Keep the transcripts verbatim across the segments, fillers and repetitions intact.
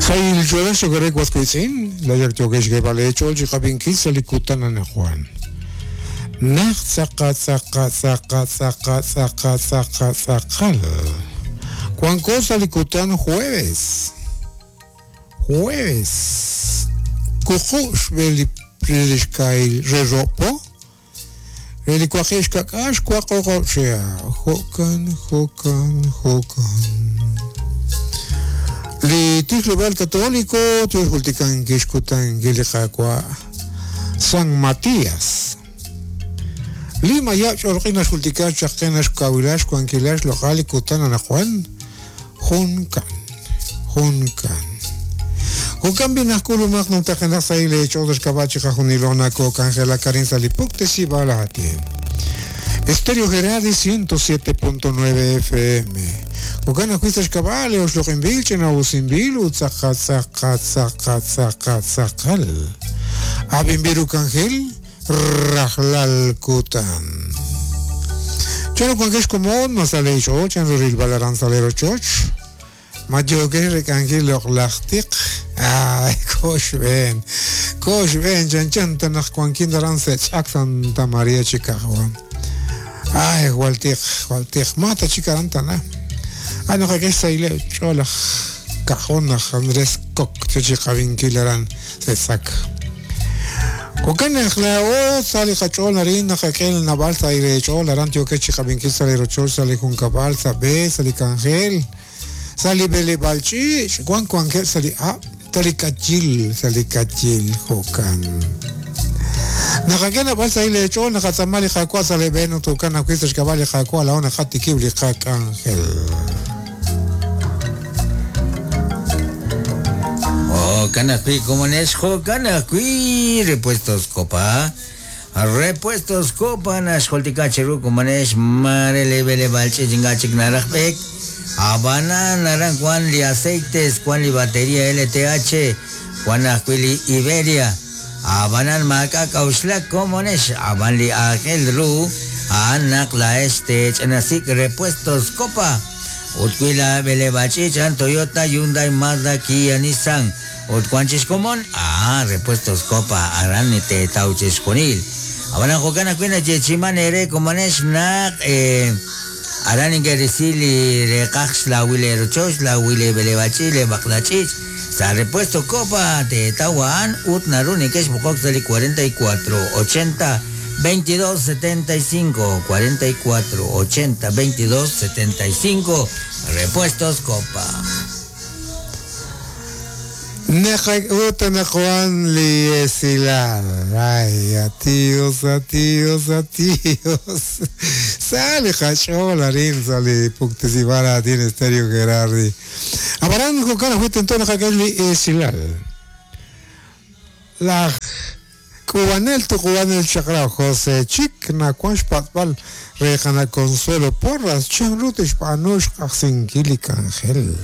Sayil chola xogore waskuitzin, la yaktokesh gebale chol chiqabinkil salikutan anajuan. Naq tzaqa tzaqa tzaqa tzaqa tzaqa tzaqa tzaqal. Cuanco salikutan jueves. Jueves. Kujush beli prilishkail reropo. Relicuajesh kakash cuacocochea. Jokan, jokan, jokan. Li Tijlobal Católico, Tijultican, Kishkutan, Gilijacua, San Matías. Lima ya chorqinas jultican, chaqenas, kawilash, cuanquilash, local, kutan, anajuan, juncan, juncan. Jucan binasculumaq, no tajenas ahí le hecho dos cabachi, jajunilona, coca, Angela Karin Salipuk, Tesibalati. Estéreo Gerardi ciento siete punto nueve F M. Jucan juistas cabales, osloquimbil, chenausimbil, utzaca, zaca, zaca, zaca, zacal. Abimbiru cangel, rajlal kutan. Chano cuanquesh comón, masalecho, chanruril balaran salero choch. Mayoque recangel loqlachtiq. Ay, kosh ben. Kosh ben, chan chan tanaj cuanquin daran sech Santa María Chicago. Ay, waltiq, waltiq, mata chicarantana. Ay, no, que es ahí, chola, cajona, Andrés Coc, chicavinquilarán, se saca. Cocan la o sale cachol, harina, jaquel, naval, aire, chol, arantio, que chicavinquil, sale rochol, sale juncabal, sabe, sale cangel, sale bele balchi, guan cuangel, sale ah, sale cachil, sale cachil, jocan. Nakakena balsa ile chol, nakatsamali jakua, sale beno, tucana, cuistas, cabal, jakua, la ona, jatikibli, jac, ángel. Oh, canacui, como nesjo, canacui, repuestos copa. Repuestos copa, nasholticacheru, como nes, mare, levele, balche, chingachik, narajbek. Habana, naran, Juan, li aceites, Juan, li batería, L T H, Juan, acuili, Iberia. Abanan maka kausla komonesh aban li ángel ru anak la este chenasik repuestos copa utkuila belebachichan Toyota Hyundai Mazda Kia Nissan utkuanchis komon ah repuestos copa aran te tauches conil abanan jokana kuina chechiman ere komonesh nak eh aran ingerisili reqax la wile rochosh la wile belebachile baklachich Sa repuesto copa de Tawan Utnaruni que es Bucoxali cuarenta y cuatro ochenta veintidós setenta y cinco cuarenta y cuatro ochenta veintidós setenta y cinco Repuestos Copa. Neja Juan Liesilar. Ay, adiós, adiós, adiós. Sale cachola, sale puctesibara, tiene Estéreo Gerardi. Abarán con fuiste entonces Esilar. La Cubanel, tu Cubanel Chacra, José Chic, Nacuanch Patbal, Rejana Consuelo Porras, Chanrutish Panush, Axinquilic Ángel.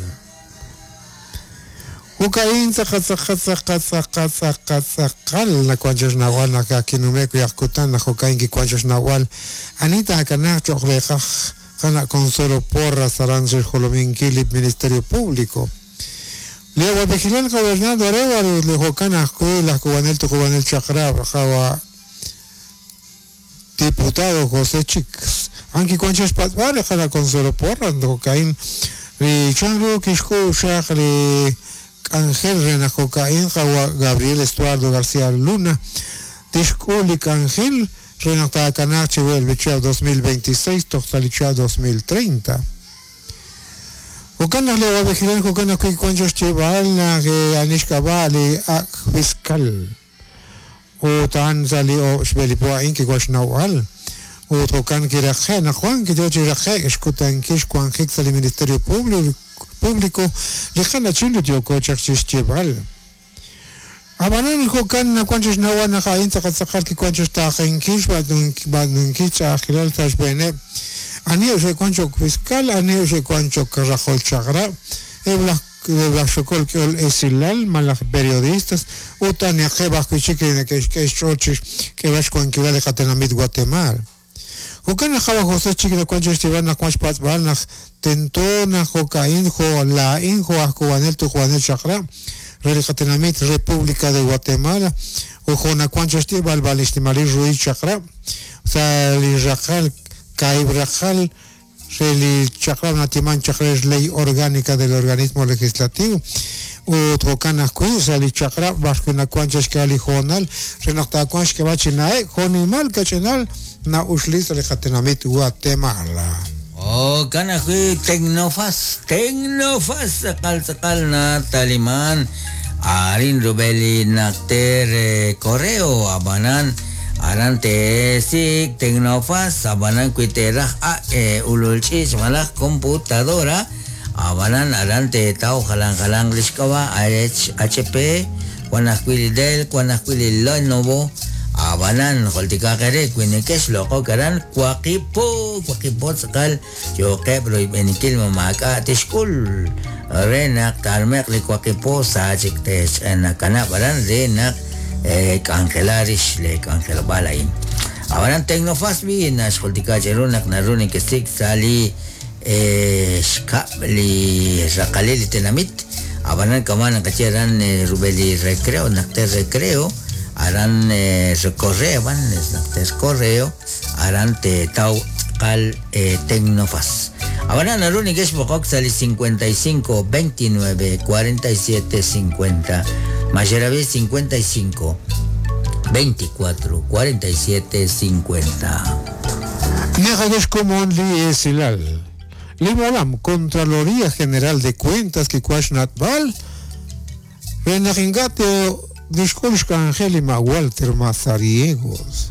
Ukain zaqa zaqa zaqa zaqa zaqa zaqal na kwanchas nawal na kakinumeko yakutan na jokain ki kwanchas nawal anita akanach choqleqaj kana Consuelo Porras Arances Jolominquilip Ministerio Público Leo Vigilal Gobernador Arévalo le jokana la cubanel tu cubanel chakra jawa diputado José Chicks anki kwanchas patbal kana Consuelo Porras jokain li chanru kishku shaqli Ángel Renajocaín, Gabriel Estuardo García Luna, Tishkulik Ángel, Renatacanache, el dos mil veintiséis, Toxalichá dos mil treinta. Jocana le va a vigilar, Jocana Cuicuanchos Chivalna, que Anishkabali, Ak Fiscal, O Tanzali, O Shbelipoa, Inki Guashnaual, O Tocan Kirajena, Juan Kidochiraje, Escutan Kish, Juan Hixal, Ministerio Público. Público, lejana chilo tiocochak chichibal. Abanan jocan na cuanchos nahuana jain zacatzakal ki cuanchos tajenkish badunkicha ajilal tashbene. Anio se cuancho fiscal, anio se cuancho carrajol chagra, ebla xocol que ol esilal, malas periodistas, utania jeba kuchique que que chochis que vas con que vale Guatemala. Jo'kan naq qawa José chik nawan chixtib'al naq wan xpatz'b'al naq tento naq jo'ka'in jo' la'in jo' aj kuwanel tujuanel chaqra' re li qatinamit República de Guatemala o jo' nawan chixtib'al b'al ixtimalil ruiz chaqra' sa li raqal kaib raqal re li chaqra' natiman chaqra' ley orgánica del organismo legislativo ut jo'kan ajwi' sa li chaqra' b'arwi' nawan chixk'al li joonal re naq taawan xk'eb'al chi na'ek jo'nimal kach'inal na uxli sa li qatinamit Guatemala. Jo'kan ajwi' Tecnofaz, Tecnofaz tz'aqal tz'aqal na taliman arin rub'el naqter correo abanan aran tesik Tecnofaz abanan wi teraj a ulul ch'ich malaj computadora abanan aran tetaw jalan jalan lixk'ab'a H P wan ajwi' li Dell wan ajwi' li Lenovo abanan joltikaqere wi nekex loq'ok aran waqipo waqipo tz'aqal yoqeb' royb'enikil mamaak'a tixk'ul re naq tarmeq li waqipo sa chik tex nakanab' aran re naq k'anjela rix le k'anjelob'aal a'in abanan Tecnofaz bi naxjoltika cheru naq naru nekesik sa li xkab' li raqalil li tinamit abanan kaman naqache aran rub'el li recreo naq te recreo aran correo van naqter correo aran te taw tz'aqal Tecnofaz abanan naru nekex b'oqok sa li cincuenta y cinco veintinueve cuarenta y siete cincuenta Mayerabi cincuenta y cinco veinticuatro cuarenta y siete cincuenta. Nejadesh komon li esilal. Limolam, Contraloría General de Cuentas que Natbal, Renajingate Disculpa Angélima Walter Mazariegos.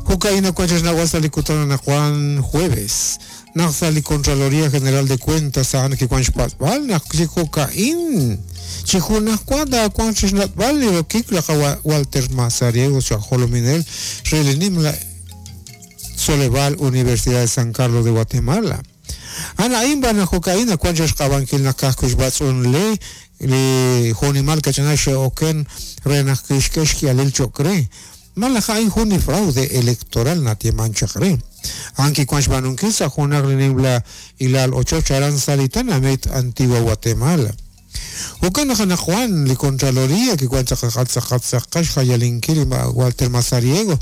Jocaína Cuachas Nahuazalicutana Juan Jueves. Naxali Contraloría General de Cuentas San que Cuanchpatbal, Naxi Jocaín. Chijunacuada Cuanchas Natbal, y Walter Mazariegos, Jolominel, Relenimla Soleval, Universidad de San Carlos de Guatemala. Ana imba na jocaína cuanchas qabankil na kajkush batzun le li jonimal kachanaxe oken renajkixkexki alil chocre. Malaja juni fraude electoral na tiemanchakre. Anki cuanch banunkisa junaglinibla ilal ocho charan salitana met Antigua Guatemala. Jokana jana Juan li Contraloría que cuancha jatzaqatzaqax jayalinkil Walter Mazariego.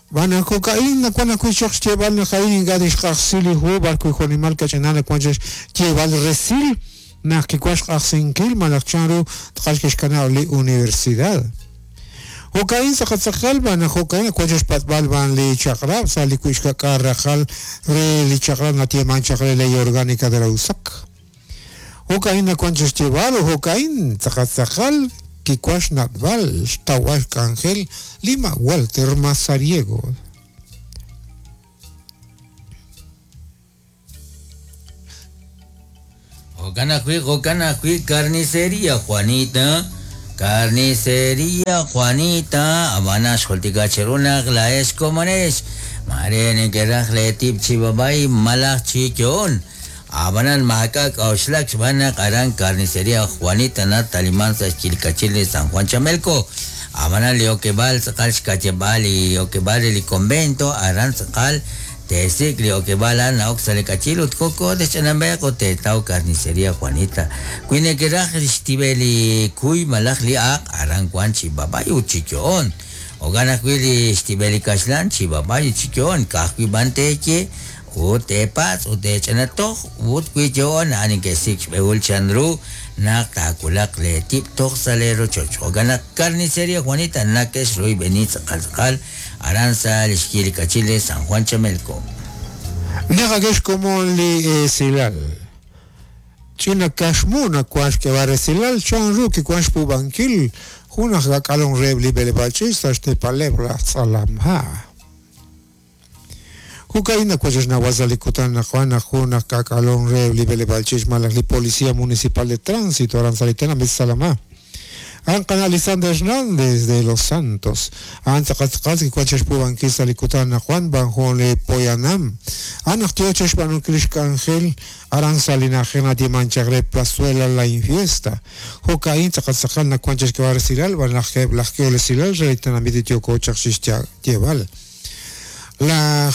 Bana cocaína cuando cuichox lleval na jain gadish qaxsili hu barku jonimal kachanana cuanches lleval resil na que cuash qaxsinkil malacharo tqashkishkana li universidad. Jocaín saqatzaqal bana jocaína cuanches patbal ban li chaqrab sali cuishka qarrajal re li chaqrab na tieman chaqre ley orgánica de la U S A C. Jocaína cuanches lleval jocaín saqatzaqal Kikuash Natbal, Tawash Cangel, Lima Walter Mazariego. Jocanajui, Jocanajui, carnicería Juanita, carnicería Juanita, Habana Xoltica Cherunak, la Escomanes, Marene Kerajle Tip Chibabay, Malach Chichón. Abanan Mahakak Oshlak Banak Aran Carnicería Juanita Natalimanza Chilcachile San Juan Chamelco. Abanan Leoquebal Sakal Xcachebal y Oquebal el convento Aran Sakal Tesik Leoquebal Ana Oxalecachil Utcoco de Chanambeco Tetao Carnicería Juanita. Cuinequeraj Stibeli Cuy Malaj Liak Aran Juan Chibabay Uchichón. Oganacuili Stibeli Cashlan Chibabay Uchichón. Cajui Banteche. Utepaz, utechanatoj, utcuichon, anin que six beul chandru, nak takulak le tip toj salero chocho. Gana carnicería Juanita, nakes rui benitz calzcal, aranza, lishkili cachile, San Juan Chamelco. Nagagesh como li silal. China kashmuna kuash que varesilal, chanru que kuash pubankil, junaj gakalon rebli belebachista, este palebra salamha. Jucaína cuachas nahuazalicutana Juana Juna Cacalón Rebli Belebalchis Malaj Policía Municipal de Tránsito Aranzalitana Mesalamá. Ancan Alexander Hernández de los Santos. Antzakatzkatzki cuachas pubanquisa licutana Juan Banjole Poyanam. Anactioches Banucrish Ángel Aranzalina Jena Dimanchagre Plazuela La Infiesta. Jocaín Tzakatzakal cuachas que va a recibir Banajeb Lajkeolesilal Reitana Mititio Cochach Lleval. La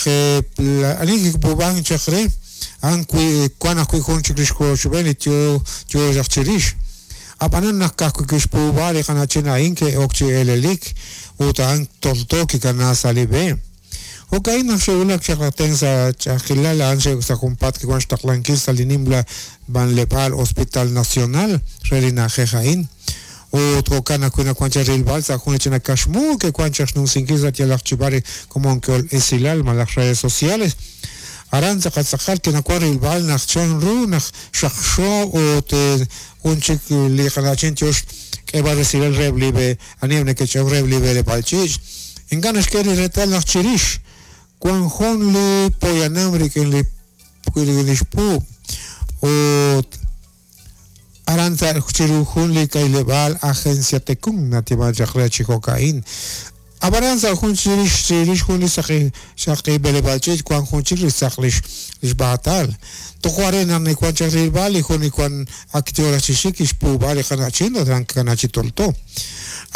ani kikpuub'ank chaq re a'an wan ajwi' jun chik li xkochb'een li yo yo chaq chirix ab'anan naq ka'ajwi' kixpuub'a li qana'chin a'in ke'ok chi elelik ut a'an tolto kikana sa' li b'e jo'ka'in naq xe'wulak chaq laj sa' ch'a'ajkilal a'an sa' junpaat kiwan xtaqlankil sa' li nimla b'anleb'aal Hospital Nacional re li na'ajej a'in ut jo'kan ajwi' nawan chaq rilb'al sa' jun li ch'ina kaxmu ke'wan chaq xnumsinkil sa' yalaq chi b'ar komon ke'ol esilal malaj redes sociales aran tz'aqal kinawan rilb'al naq chan ru naq xaqxo ut jun chik li qana'chin tiox k'eb'al resilal reheb' li b'e aniheb' neke'ch'e'ok reheb' li b'eleb'aal ch'iich' ink'a' naxk'e li reetal naq chirix wan jun li poyanam rik'in li li xpuub' ut aran chiru jun li kayleb'aal Agencia Tecún natiman chaq re chi jo'ka'in ab'anan sa' jun chirix chirix jun li saqi saqi b'eleb'aal ch'iich' wan jun chik li saq lix lix b'aatal tojo are naq niwan chaq rilb'al li jun li wan ak yo raj chi xik kixpuub'a li qana'chin ut ran kikana chi tolto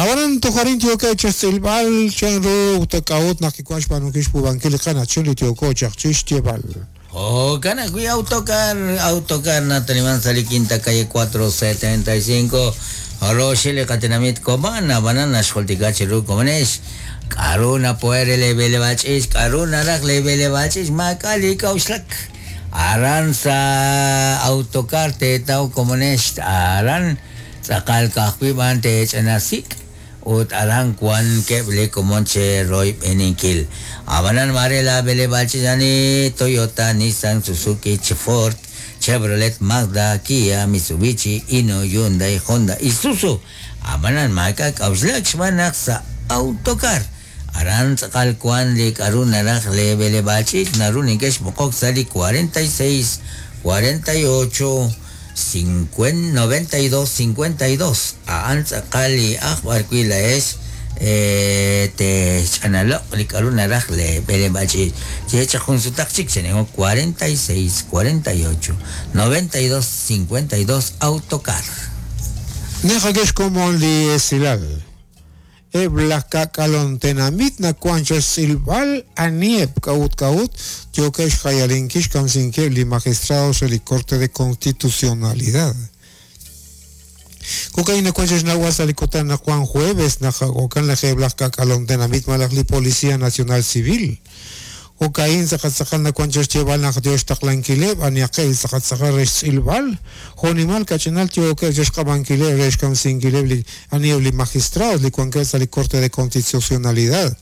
ab'anan toj arin yookeb' chaq xtz'ilb'al chan ru ut k'a'ut naq kiwan xb'aanunkil xpuub'ankil li qana'chin li yooko chaq chi xyeeb'al. Jo'kan ajwi' autocar, autocar nataliman sa' li quinta calle cuatro setenta y cinco roxil li qatinamit Cobán ab'anan naxjultika chiru komonex k'aru napo'er li b'eleb'aal ch'iich' k'aru naraj li b'eleb'aal ch'iich' maak'a' li k'a'uxlak aran sa' autocar teetaw komonex aran tz'aqal ka'ajwi' b'an teech'anasik ut aran wan keb' li komon che royb'eninkil ab'anan mare la b'eleb'aal ch'iich' ani Toyota, Nissan, Suzuki, Ford, Chevrolet, Mazda, Kia, Mitsubishi, Hino, Hyundai, Honda, Isuzu ab'anan maak'a' k'a'uxlak xb'aan naq sa' autocar aran tz'aqal wan li k'aru naraj li b'eleb'aal ch'iich' naru neke'xb'oqok sa' li cuarenta y seis, cuarenta y ocho, noventa y dos, cincuenta y dos a'an tz'aqal li aj b'arwi' la'ex tech'analoq li k'aru naraj li b'eleb'aal ch'iich' chechaq jun sutaq chik chenengo cuarenta y seis, cuarenta y ocho, noventa y dos, cincuenta y dos autocar. Nejakex komon li esilal eb' laj k'ak'alontenamit nawan chaq xtz'ilb'al anieb' k'a'ut k'a'ut yookeb' xjayalinkil xkamsinkeb' li magistrados re li Corte de Constitucionalidad. Jo'ka'in nawan chaq xnawal sa' li kutan naq wan jueves naq jo'kan laj eb' laj k'ak'alontenamit malaj li Policía Nacional Civil. Jo'ka'in tz'aqal nawan chaq xyeeb'al naq yo xtaqlankileb' aniaqeb' tz'aqal re xtz'ilb'al jo'nimal kach'inal yookeb' chaq xq'ab'ankileb' re xkamsinkileb' li anieb' li magistrados li wankeb' sa' li Corte de Constitucionalidad.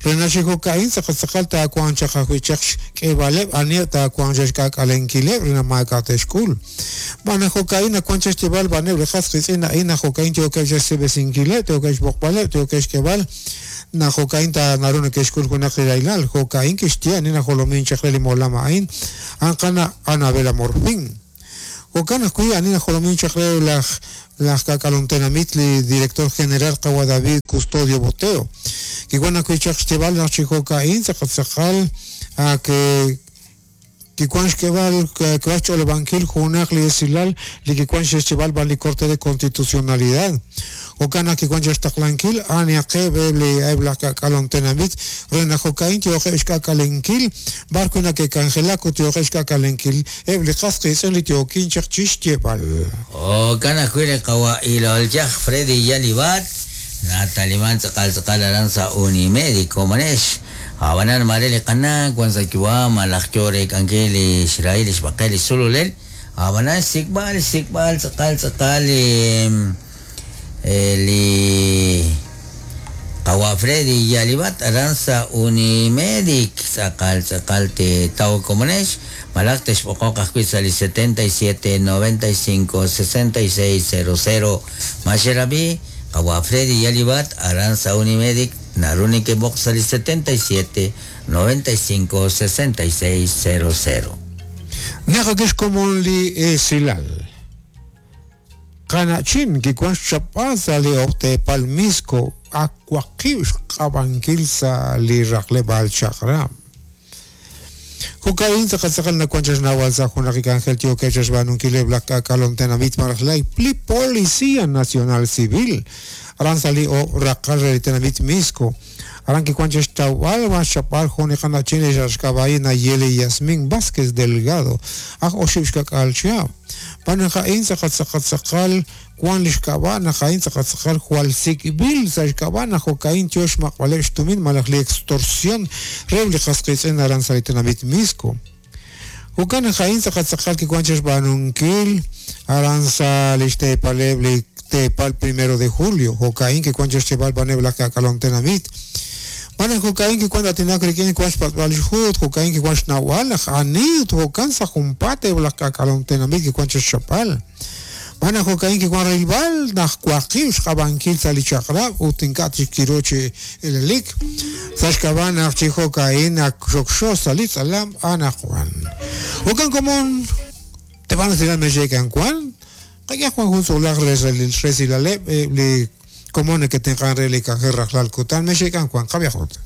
Re naxi jo'ka'in tz'aqal taawan chaq ajwi' chaq xk'eeb'aleb' anieb' taawan chaq xk'ak'alenkileb' re naq maak'a' te'xk'ul. B'an naq jo'ka'in nawan chaq xyeeb'al b'aneb' li qas qitz'in a'in naq jo'ka'in yookeb' chaq xseb'esinkileb' yookeb' xb'oqb'aleb' yookeb' xk'eeb'al naq jo'ka'in ta naru neke'xk'ul junaq li raylal jo'ka'in kixye ani najolomin chaq re li molam a'in a'an qana Anabela Morfín. Jo'kan ajwi' ani najolomin chaq re laj laj k'ak'alontenamit li director general qawa David Custodio Boteo. Kiwan ajwi' chaq xyeeb'al naq chi jo'ka'in tz'aqal tz'aqal a ke kikuan xk'eb'al k'eb'al xch'olob'ankil junaq li esilal li kikuan xexcheb'al b'an li Corte de Constitucionalidad. Jo'kan naq kikuan chaq xtaqlankil aniaqeb' li eb' laj k'ak'alontenamit re naq jo'ka'in yookeb' xk'ak'alenkil b'ar wi' nake'k'anjelak ut yookeb' xk'ak'alenkil eb' li qas qitz'in li yookin chaq chi xyeeb'al. Jo'kan ajwi' li qawa' ilolyaj Freddy Yalibat nataliman tz'aqal tz'aqal aran sa' Unimédico komonex ab'anan mare li qana wan sa' yu'am malaj yo reek'ankil li xrahil li xb'aqel li xsululel ab'anan xsik'b'al xsik'b'al tz'aqal tz'aqal li li qawa' Freddy Yalibat aran sa' Unimedic tz'aqal tz'aqal teetaw komonex malaj texb'oqoq ajwi' sa' li setenta y siete, noventa y cinco, sesenta y seis, cero cero maxerabi qawa' Freddy Yalibat aran sa' Unimedic naru neke'b'oq sa' li setenta y siete, noventa y cinco, sesenta y seis, cero cero. Nejakex komon li esilal qana'chin kikuan xchap'al sa' li oqtepal Misco akuaqib' xq'ab'ankil sa' li raqleb'aal chaq'rab'. Jo'ka'in tz'aqal tz'aqal nawan chaq xnawal sa' jun laj k'anjel yookeb' chaq xb'aanunkileb' laj k'ak'alontenamit malaj laj li Policía Nacional Civil aran sa' li raqal re li tenamit Misco Aran kiwan chixtawb'al wan xchapb'al jun li qana'chin li xk'ab'a'i Nayeli Yasmin Vázquez Delgado aj oxib' xkak'al chihab'. B'an a'in tz'aqal tz'aqal tz'aqal wan li xk'ab'a' naq a'in tz'aqal tz'aqal jwal sik'b'il sa' xk'ab'a' naq jo'ka'in yo xmaq'b'aleb' xtumin malaj li extorsión re li qas qiitz'in aran sa' li tenamit Misco. Jo'kan naq a'in tz'aqal tz'aqal kiwan chixb'aanunkil aran sa' li xteepaleb' li teepal primero de julio jo'ka'in kiwan chixcheb'al b'aneb' laj k'ak'alom tenamit. B'an jo'ka'in kiwan atinak rik'in kiwan xpatz'b'al xjuut jo'ka'in kiwan xnawb'al laj ani ut jo'kan sa' junpaat eb' laj k'ak'alom tenamit kiwan chixchapb'al. B'an jo'ka'in kiwan rilb'al naq waqib' xq'ab'ankil sa' li chaq'rab' ut ink'a' chik kiru chi elelik. Sa' xk'ab'a' naq chi jo'ka'in naq xokxo sa' li tz'alam anaqwan. Jo'kan komon te van a decir mexekan Juan qak'e Juan jun tzolaj resilaleb' li komon que tengan re li k'anjel rajlal kutan mexekan Juan qabiajot.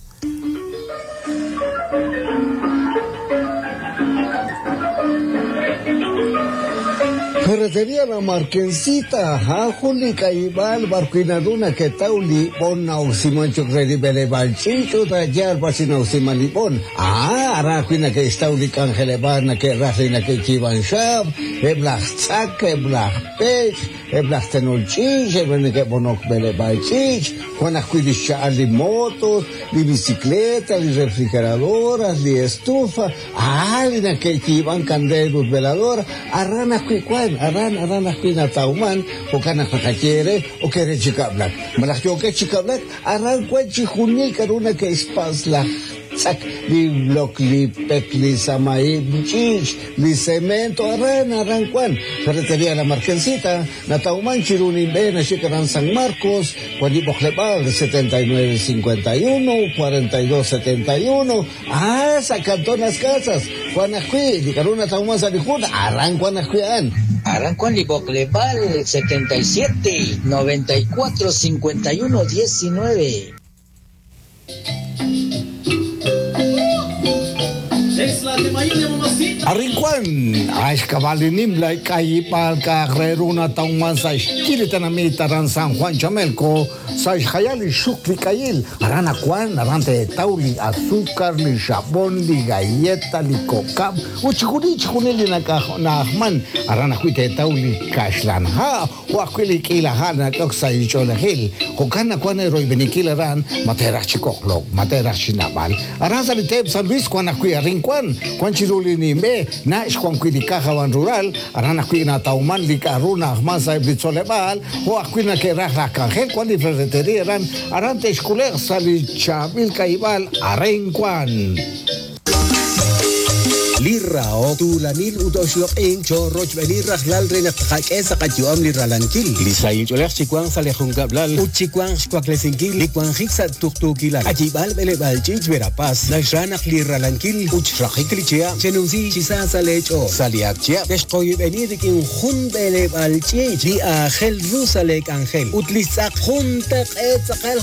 Ferretería La Marquesita, Juli Caibal, Barquinaduna, que tauli, bon nausimancho redibele balchicho, tayar basinausimalibon. Ah, arajina que estauli cangelebana, que rajina que chivan shab, eblach tzak, eblach pech, eblach tenolchich, eblach que bonok bele balchich, Juan ajuilisha li motos, li bicicleta, li refrigeradoras, li estufa, ah, li que chivan candelos veladora, arrana cuicuan. Aran aran ajwi' natawman jo'kan naq naqaye re o ke re chikablak malaj yookeb' chikablak aran wan chi junil k'a'ru nake'xpas laj tz'ak li blok li pek li samaib ch'ich li cemento aran aran wan Ferretería La Marquesita natawman chiru ninb'e naxik aran San Marcos wan li b'oqleb'aal setenta y nueve cincuenta y uno cuarenta y dos setenta y uno ah sa' Cantón Las Casas wan ajwi' li k'a'ru natawman sa' li jun aran wan ajwi' a'an. Arrancó en Libocleval setenta y siete, noventa y cuatro, cincuenta y uno, diecinueve. Arrincuan, Ashkabalinim la Kayipal Carreruna Tauman Saishkiritanamita Ran San Juan Chamelco, Saishayali Shukli Kayil, Arana Juan, Arante Tauli, azúcar, li jabón, li galleta, li coca, Uchikuni Chikunili Nakahman, Arana Juite Tauli Kashlan Ha, Huaquili Kila Hana Coxa y Cholajil, Jocana Juan Heroi Beniquil Aran, Matera Chicoclo, Matera Chinabal, Aran Salitep San Luis Juan Acuy Arrincuan, Juan Chiruli Nimbe, Nash Juan Cuidicaja Van Rural, Arana Cuina Tauman, Licaruna, Ahmasa, Blitzolebal, o Acuina que Raja Cangel, Juan y Ferretería, Aran, Arante Esculer, Salichamil Caibal, Arrencuan. Lirao tulanil utoxloq'in chorrochb'enil rajlal renaqtaqak'e saqatyu'am lirralankil lisayinch'olej chikuan salejunkablal utchikuan xkuaklesinkil likuanjik sa tuqtuukilal achib'al b'eleb'al ch'ich verapaz naxranaq lirralankil uchrajik lichia chenunsi chisa salech'o saliakchia texqoyib'enil rikin jun b'eleb'al ch'ich li ajel ru salek angel utlistz'aq jun taq'e tz'aqal.